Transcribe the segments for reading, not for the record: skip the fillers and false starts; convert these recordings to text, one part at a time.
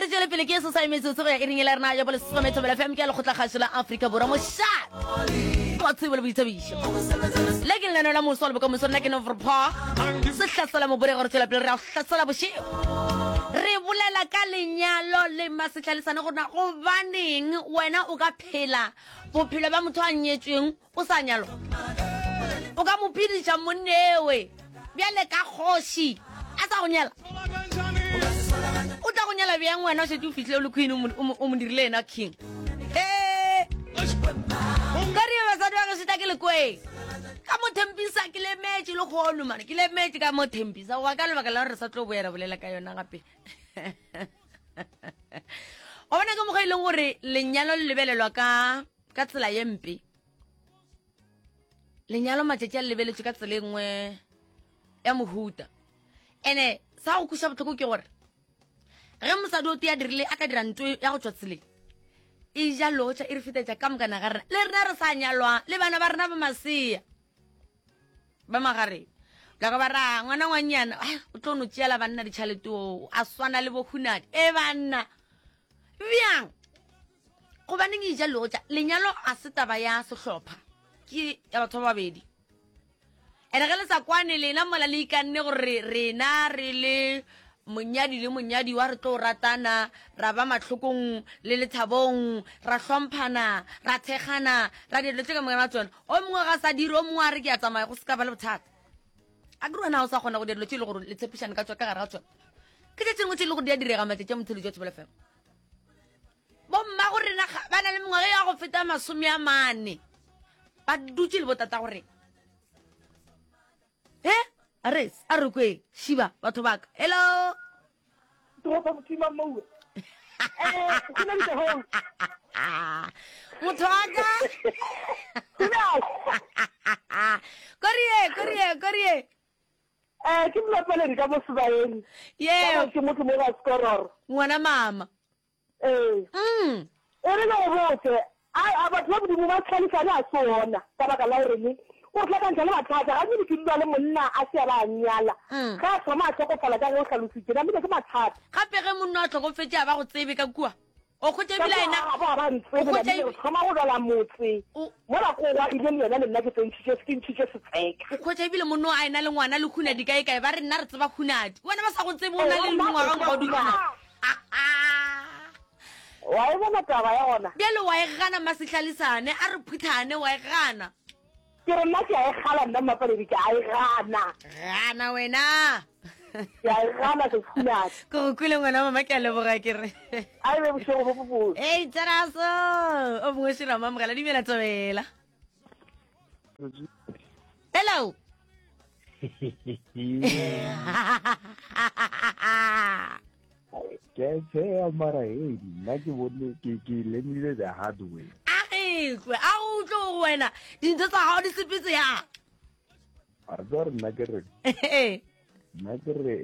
re tšwele pele ke sesai metsotso go ya iring e la rena ya bolesome thobela fm ke ya lekgotlakgašo la afrika borwa mošate wa tsebo le boithabišo le ke lenaneo la moso le bokamoso nna ke noverpa se hlasela moborego re tšwela pele re a hlasela bošego re bolela ka lenyalo le masetlhalesane gore na gobaneng wena o ka phela bophelo bja motho a nyetsweng o sa nyalwa o ka mo phediša monnewe bjale ka kgoši a sa go nyala o tla go nyala bjang wena o šetše o fihlile o le queen o mo dirile yena king ee ka re basadi ba gešo tla ke lekweng ka mo thempisa ke lemetše le kgono mane ke lemetše ka mo thempisa goba ka lebaka la gore re sa tlo boya ra bolela ka yona gape o bona ka mokgwa e leng gore lenyalo le lebelelwa ka ka tsela ye mpe lenyalo matšatši a le lebeletšwe ka tsela e nngwe ya mohuta ene sa go kweša bohloko ke gore ge mosadi o tee a dirile a ka dira nto ya go tšwa tseleng e ja lotša e re fetetša ka mokana ga rena le rena re sa nyalwang le bana ba rena ba masea ba magareng ka ba ra ngwana ngwanyana o tlo no tšeela banna ditšhalete oo a swana le bohunadi e banna bjang gobaneng e ja lotša lenyalo a se taba ya sehlopha ke ya batho ba babedi ene ge le sa kwane lena mola le ikanne gore rena re le monyadi le monyadiwa re tlo ratana ra ba mahlokong le lethabong ra hlomphana ra thekgana ra dira dilo tše ka moka ga tsona o mongwe ga sa dire o mongwe a re ke a tsamaya go se ka ba le bothata a ke wena o sa kgona go dira dilo tše e le gore le tshepišane ka tswa ka gare ga tsona ke tše tse dingwe tse e le gore di a direga matšatši a motheletši wa thobela fm bomma go rena ba na le mengwaga ya go feta masome a mane ba dutše le botata gore he a re a re kwe šiba batho baka hello Toropo motima moue. Eh, go na le ho. Motho wa ka. Korie, korie, korie. Eh, ke mlapeledi ka mo sebaeng. Yeah. Ke motho mo ga skororo. Ngwana mama. Ee. Mm. E re ke go botse, a, a batho ba Modimo ba tlhalefane a se ona, ka baka la goreng o re hlakantšha le mathata. Gantši ke dula le monna a se a ba a nyala, Mm. ge a thoma a hlokofala ka ge o hlalositše, namile ke mathata. Gape ge monna a hlokofetše a ba go tsebe ka kua, o hwetša Ka ebile a kua ena, ga bo ga ba o ntsebe, hwetša namile re ebe, thoma go lwela motse, o, mola ko gwa ile le yena le nna ke tsentšhitše, ke ntšhitše setseka. o hwetša ebile monna a ena le ngwana le hunadi kae kae, ba re nna re tseba hunadi, wena ba sa go tsebe o Ee, na ba le re nna re mengwaga tseba nka o dula. hunadi. Wa e bona taba ya gona? Bjale wa e gana Masehlalisane, a re phuthane, wa e gana. Ke re nna ke a e gala nna Mmapaledi, ke a e gana. Gana wena. Ke a e gana Seskhunadi. Ke go kwele ngwana mama, ke a leboga ke re. A e be bošego bo bobotse. Ei Teraso, o mongwe šira mamogela, dumela Thobela. Hello. Ke a tsheya mara hey nna ke bone ke ke learnile the hard way. A etlwe a go utlwe go wena dintho tsa gago di sepetse ya. A tswa re nna ke re nna ke re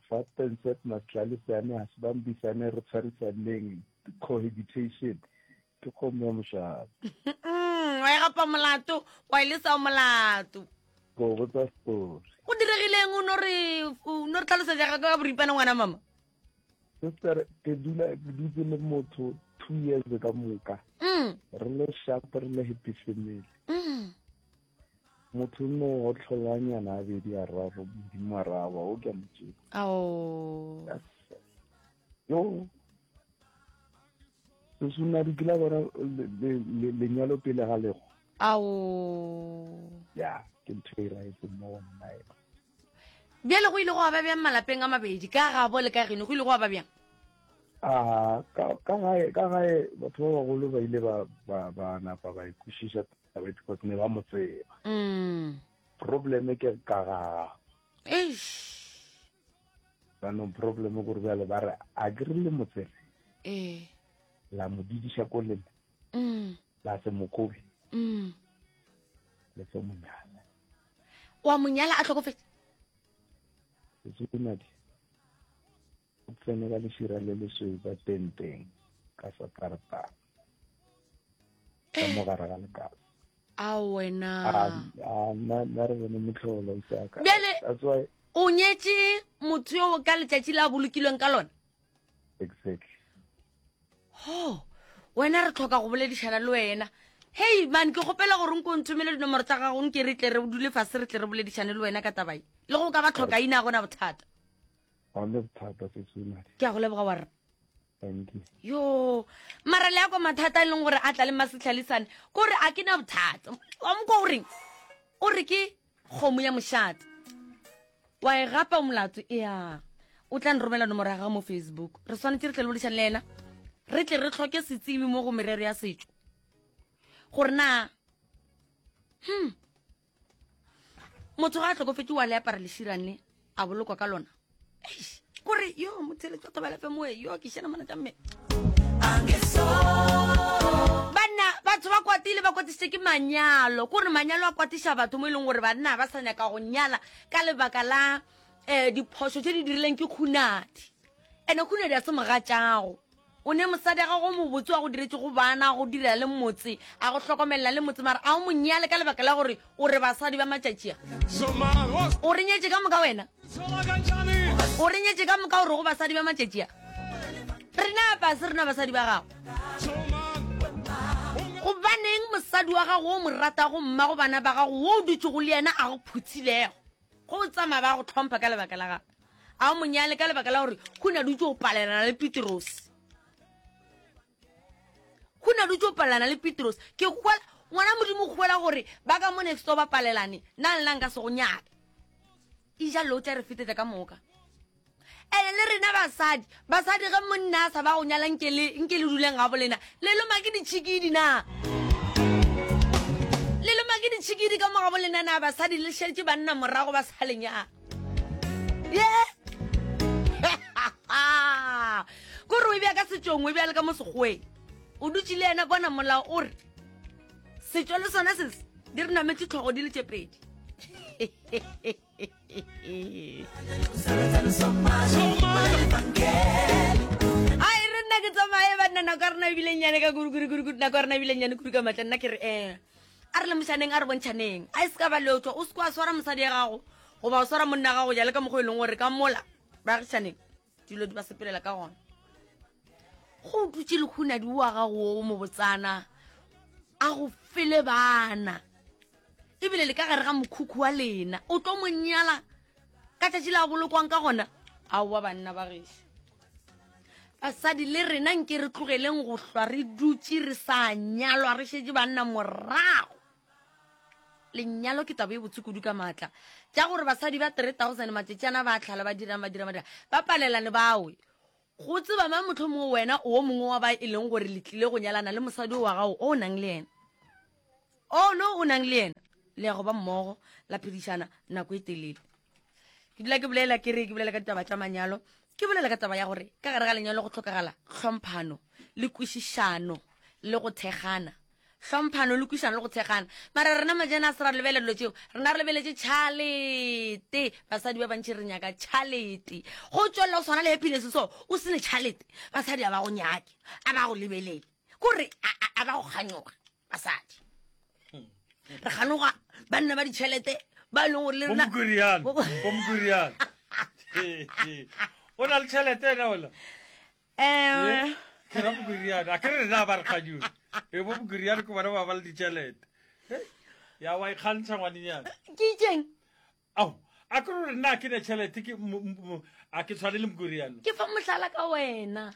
fa Tencent Matlalisane ga se bambisane re tshwarisaneng cohabitation ke kgomo ya mošate. Mm, wa e gapa molato wa e lesa molato. Go botsa story. Go diregileng o no re o no re tlhalosetsa ga ka boripana ngwana mama. Sister ke dula ke dutse le motho 2 years ka moka. Mm. Re le sharp re le happy family. Mm. Motho no otlholanyana a bedi a raro modimo a raba o ke a mo tseba. Ao. Yo Sesunadi ke la bona lenyalo pele ga lego. Ao. Ya, ke ntho e raetseng mo go nna e. Bjale go ile go ba bjang malapeng a mabedi ka gabo le ka geno go ile go ba bjang? A ka ka gae ka gae batho ba bagolo ba ile ba ba ba napa ba ikwešiša taba e because ne ba mo tseba. Mm. Problem ke ka ga Eish. Jaanong problem gore bjale ba re a ke re le mo tsere Ee. la mo didiša ko lena Mm. la se mo kobe Mm. le se mo nyala. Wa mo nyala a hlokofetše? Setsunadi o tsene ka lešira le lesweu ka tenteng ka satartana ka mo gare ga lekase. A wena. A nna nna re bone mohlolo isaka. Bjale That's why o nyetše motho yo ka letšatši la bolokilweng ka lona? Exactly. Ho, wena re tlhoka go boledišana le wena. Hei man, ke kgopela gore nko nthomele dinomoro tsa gago nke re tle re dule fase re tle re boledišane le wena ka taba ye. Le go ka ba tlhoka ina gona bothata. Ga le bothata sesumadi. Ke a go leboga wa rra. Thank you. Yo, mara le ya kwa mathata a e leng gore a tla le masetlhalisane, kore a ke na bothata. Wa mo kwa o reng? O re ke kgomo ya mošate. Wa e gapa o molato ea. O tla nromela nomoro ya gago mo Facebook. Re swanetše re tle le boledišane le yena. Re tle re hloke setsebi mo go merero ya setšo. Gore na motho ga a hlokofetše wa le apara leširane a bolokwa ka lona. Eish, kore yo motheletso thobela fe moe yo ke šena mona tša mme. Banna batho ba kwatile ba kwatisitše ke manyalo kore manyalo a kwatiša batho mo e leng gore banna ba sa nyaka go nyala ka lebaka la um diphošo tše di dirileng ke khunadi ene khunadi a se mogatšago o ne mosadi a gago mobotse wa go diretse go bana go direla le motse a go hlokomelela le motse mara a o mo nyale ka lebaka la gore o re basadi ba matšatši a o re nyetše ka moka wena o re nyetše ka moka o re go basadi ba matšatši a rena apa se rena basadi ba gago gobaneng mosadi wa gago o mo ratago mmago bana ba gago wo o dutšego le yena a go phuthilego go tsamaya ba go tlhompha ka lebaka la gago a o monyale ka lebaka la gore go na dutse o palelana le Petrose go na dutse o palelana le Petrose ke kwela ngwana modimo kgwela gore ba ka mo next door ba palelane nna le nna nka se go nyale e ja lo tla re fetetsa ka moka ene le rena basadi basadi ge monna a sa ba go nyala nke le nke le duleng ga bolena le loma ke ditšhikidi na le loma ke ditšhikidi ka mo ga bolena na basadi le šetše banna morago ba sa lenyala ye kore o e bja ka setšong o e bja le ka mo sekgoweng o dutše le yena bona molao o re setšo le sona se di re nametše tlhogo di le tše pedi ai re nna ke tsamaye banna nako ya rena ebile nnyane ka kudu nako ya rena ebile nnyane kudu ka matla nna ke re um a re lemošaneng a re bontšhaneng a e se ka ba leotswa o se kwa swara mosadi ya gago goba o swara monna gago jale ka mokgwa e leng gore ka mola baagišaneng dilo di ba sepelela ka gona go dutše lehunadi wa gago o mobotsana a go fele bana ebile le ka gare ga mokhukhu wa lena o tlo mo nyala ka tšatši la bolokwang ka gona aowa banna ba gešo basadi le rena nke re tlogeleng go hlwa re dutše re sa nyalwa re šetše banna morago lenyalo ke taba e botse kudu ka maatla tša gore basadi ba 3000 matšatšana ba tlhala ba dirang ba dirang ba dirang ba palelane bawe go tseba mang motlho mongwe wena o mongwe wa ba e leng gore le tlile go nyalana le mosadi wa gago o nang le yena o no o nang le yena le ya go ba mmogo la phedišana nako e telele ke dula ke bolela ke re ke bolela ka ditaba tša manyalo ke bolela ka taba ya gore ka gare ga lenyalo go tlhokagala tlhomphano le kwešišano le go thekgana hlomphano le kwišano le go thekgana mara rena majana a se ra lebelela dilo tšeo rena re lebeletše tšhalete basadi ba bantši re nyaka tšhalete go tswelela o swana le happiness so o sene tšhalete basadi a ba go nyake a ba go lebelele kore a ba go kganyoga basadi re kganoga banna ba ditšhelete ba e leng gore le rena o na le tšhelete ena ola Eh. Ke ra Mokuriane. A ke re rena ba re kganyone. E bo Mokuriane ke bona ba ba le ditšhelete. Ya wa ikgantsha ngwanenyana. Ke itseng? Ao, a ke re nna ke ne tšhelete ke a ke tshwane le Mokuriane. Ke fa mohlala ka wena.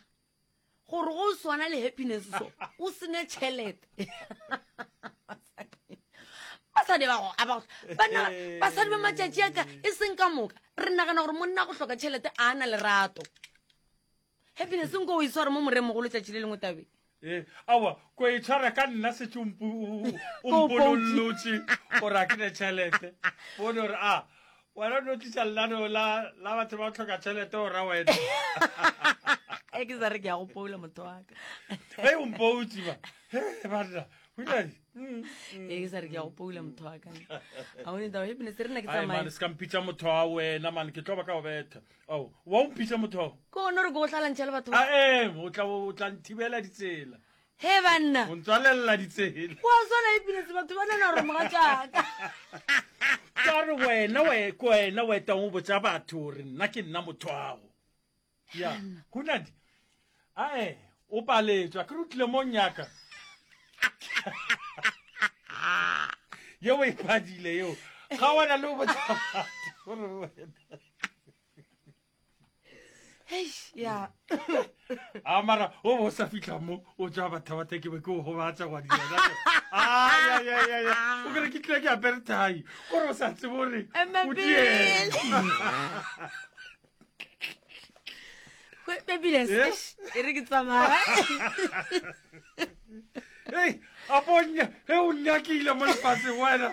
Gore go swana le happiness so o sene tšhelete. Basadi ba go a ba bana basadi ba matšatši a ka e seng ka moka re nagana gore monna go hloka tšhelete a na lerato. Happiness nko o itshware mo moremogolo tšatši le lengwe tabeng. Ee, aowa, ko e tshwara ka nna setse o mponollotše gore a ke ne tšhelete. Bone gore a wena o no tlisa lenaneo la la batho ba tlhoka tšhelete o ra wena. E ke sa re ke ya go poula motho wa ka. Ge o mpoutse ba. He banna, o ile E ke sa re ke ya go poula motho wa ka. A o ne taba happiness re nna ke tsamaya. Ai man, se ka mpitša motho wa wena man, ke tlo ba ka go betha. Ao, wa o mpitša motho ao? Ke gone gore ke go hlalantšha le batho. A ee, o tla o tla nthibela ditsela. He banna. O ntswalelela ditsela. Wa swana happiness batho ba nana gore mogatšaka. Ka re wena we ke wena o etang o botša batho gore nna ke nna motho ago. Ya, go na di. Ae, o paletswe, a ke re o tlile mo nyaka. Yeo e padile yeo. Ga wana le o botsa batho gore wena. Eish, ya A mara o bo sa fihla mo o tswa batho ba ke be ke o gobatsa gwa diena. Ai ai ai ai. O kere ke tlile ke apere thai. Gore o sa tsebe gore o dieng. Babiles, Eh? e re ke tsamaya. Ei, a bonya, he o nyakile mo lefatsheng wena.